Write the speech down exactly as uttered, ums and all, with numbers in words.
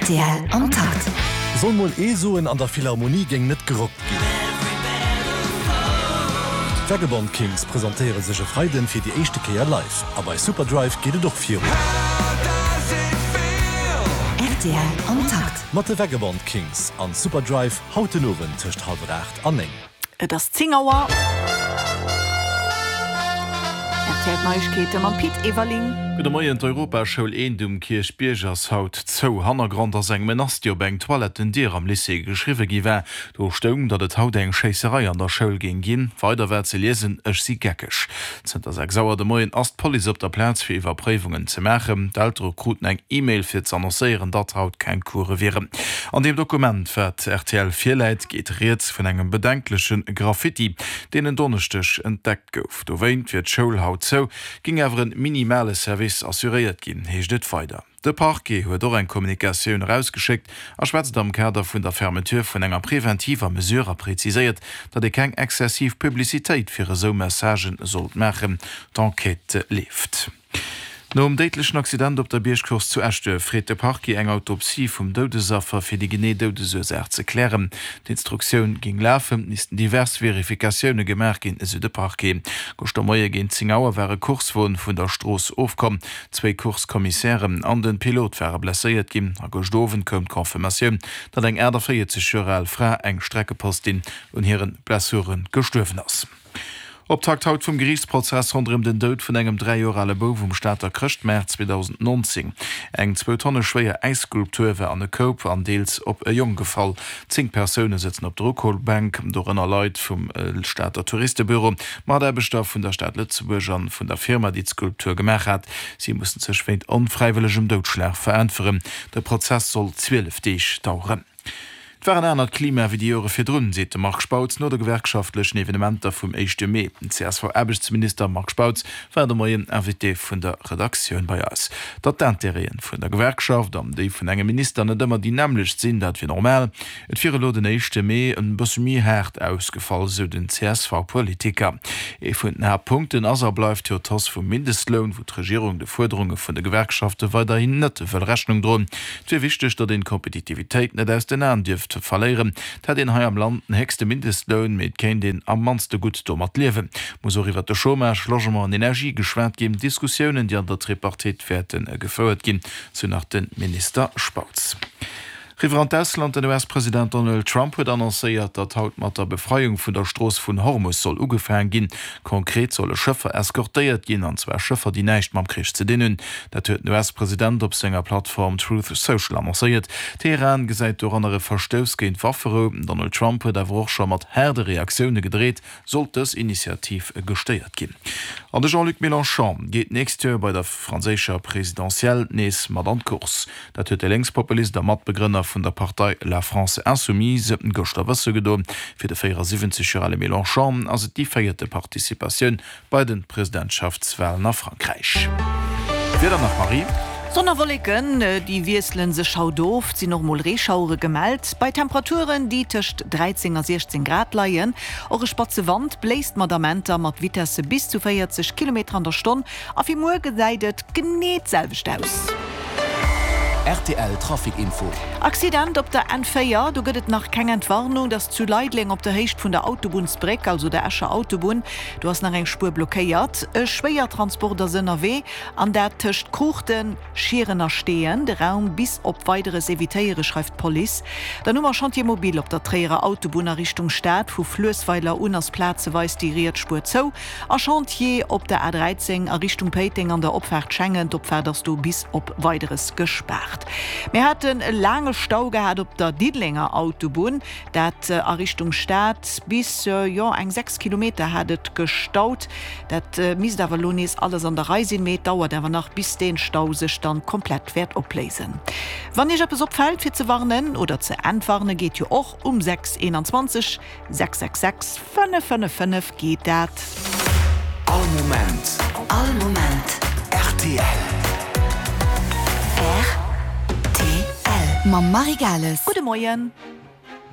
Rtl am Takt. Soll mol ee soen, an der Philharmonie géing net gerockt ginn. D'Vagabond Kings presentéiere sech e Freiden fir déi éischte Kéier live. A bei Superdrive geet et och virun. Rtl am Takt. Mat de Vagabond Kings an Superdrive haut den Owend tëscht hallwer aacht an néng. Et ass zéng Auer. R T L Neiegkeete mam Pit Everling. Gudde Moien, D'Europaschoul Eent um Kierchbierg ass haut zou. Hannergrond ass eng Menace, déi op eng Toilettendier am Lycée geschriwwe gi war. Do stoung, datt et haut eng Schéisserei an der Schoul géing ginn. Weider war ze liesen, Ech si geckeg. Zënter sechs Auer de Moien ass d'Police op der Plaz fir Iwwerpréiwungen ze maachen. D'Eltere kruten eng E-Mail fir z'annoncéieren, datt haut keng Course wieren. An deem Dokument, wat R T L virläit, geet rieds vun engem bedenkleche Graffiti, deen en Donneschdeg entdeckt gouf. Dowéint wier d'Schoul haut zou, géing awer en minimale Service assuréiert ginn, heescht et weider. De Parquet huet och eng Kommunikatioun erausgeschéckt a schwätzt am Kader vun der Fermeture vun enger preventiver Mesure a präziséiert, datt ee keng exzessiv Publicitéit fir esou Messagen sollt maachen. D'Enquête leeft. Nom déidlechen Accident op der Biergcourse zu Eschduerf freet de Parquet eng Autopsie vum Doudesaffer fir déi genee Doudesursaach ze klären. D'Instruktioun géing lafen, missten divers Verifikatioune gemaach ginn, esou de Parquet. Gëschter Moie géint zéng Auer war e Coursewon vun der Strooss ofkomm. Zwéi Course-Commissären an de Pilot ware blesséiert ginn. A gëscht Owend koum d'Confirmatioun, datt eng aachtavéierzeg Joer al Fra, eng Streckepostin, un hire Blessure gestuerwen ass. Optakt haut vum Geriichtsprozess ronderëm den Doud vun engem dräi Joer ale Bouf um Stater Chrëschtmaart zweedausendnonzéng. Eng zwou Tonne schwéier Äisskulptur war an e Koup an deels op e Jong gefall. Zéng Persoune sëtzen op der Uklobank, dorënner Leit vum Stater Touristebüro, Mataarbechter vun der Stad Lëtzebuerg an vun der Firma, déi d'Skulptur gemaach hat. Si mussen sech wéint onfräiwëllegem Doudschlag veräntweren. De Prozess soll zwielef Deeg daueren. Et war en anert Klima wéi déi Jore virdrun, seet de Marc Spautz no de gewerkschaftlechen Evenementer vum éischte Mee. Den C S V-Aarbechtsminister Marc Spautz war de Moien Invité vun der Redaktioun bei eis. Datt d'Intérêten vun der Gewerkschaft an déi vun engem Minister net ëmmer déi nämmlecht sinn, dat wier normal. Et wier elo den éischte Mee en bësse méi haart ausgefall, sou den C S V-Politiker. Ee vun den Haaptpunkten ass a bleift jo d'Hausse vum Mindestloun, wou d'Regierung de Fuerderunge vun de Gewerkschafte weiderhin net wëll Rechnung droen. Et wier wichteg, datt een d'Kompetitivitéit net aus den Aen dierft verléieren. Et hätt een hei am Land den héchste Mindestloun, mee et kéint een am mannste gutt domat liewen. Muss och iwwert de Chômage, Logement an Energie geschwat ginn, Diskussiounen, déi an der Tripartite wäerte gefouert ginn, sou nach de Minister Spautz. Riwwer an d'Ausland, Den U S-President Donald Trump huet annoncéiert, datt haut mat der Befreiung vun der Strooss vun Hormus soll ugefaange ginn. Konkret solle Schëffer eskortéiert ginn, an zwar Schëffer, déi näischt mam Krich ze dinn hunn. Dat huet den U S-President op senger Plattform Truth Social annoncéiert. Teheran gesäit doranner e Verstouss géint d'Wafferou. Donald Trump huet awer och scho mat haarde Reaktioune gedreet, sollt dës Initiativ gestéiert ginn. An de Jean-Luc Mélenchon geet d'nächst Joer bei der franséischer Presidentielle nees mat an d'Course. Dat huet de Lénkspopulist a Matbegrënner vun der Partei La France Insoumise gëschter wësse gedoen. Fir de véierasiwwenzeg Joer ale Mélenchon ass et déi véierte Participatioun bei de Presidentschaftswalen a Frankräich. Wieder nach, Marie? Sonn a Wolleken, déi wiessele sech haut of, et sinn och mol Reeschauere gemellt, bei Temperaturen, déi tëscht dräizéng a siechzéng Grad leien. Och e spatze Wand bléist mat Amenter mat Vitesse bis zu véierzeg Kilometer an der Stonn. A fir muer gesäit et genee d'selwecht aus. R T L Trafic Info. Accident op der N véier, do gëtt et nach keng Entwarnung. Dat ass zu Leideleng op der Héicht vun der Autobunnsbréck, also der Escher Autobunn. Do ass nach eng Spuer blockéiert. E Schwéiertransport ass ënnerwee, an dat tëscht Kruuchten, Schieren a Steeën. De Raum bis op Weideres evitéiere, schreift d'Police. Dann hu mer Chantier mobile op der Tréierer Autobunn a Richtung Stad. Vu Fluessweiler un ass plazeweis déi riets Spuer zou. A Chantier op der A dräizéng a Richtung Péiteng an der Opfaart Schengen. D'Opfaart ass do bis op Weideres gespaart. Mir haten e laange Stau gehat op der Diddelenger Autobunn, dat a Richtung Stad. Bis, jo, eng sechs Kilometer hat et gestaut. Dat misst awer elo nees alles an der Rei sinn, mee et dauert awer nach, bis dee Stau sech dann komplett wäert opléisen. Wann Iech eppes opfält, fir ze warnen oder ze entwarnen, geet jo och um sechs eenanzwanzeg sechs sechs sechs fënnef fënnef fënnef geet dat. All Moment. All Moment. R T L. R T L. Mam Marie Gales. Gudde Moien.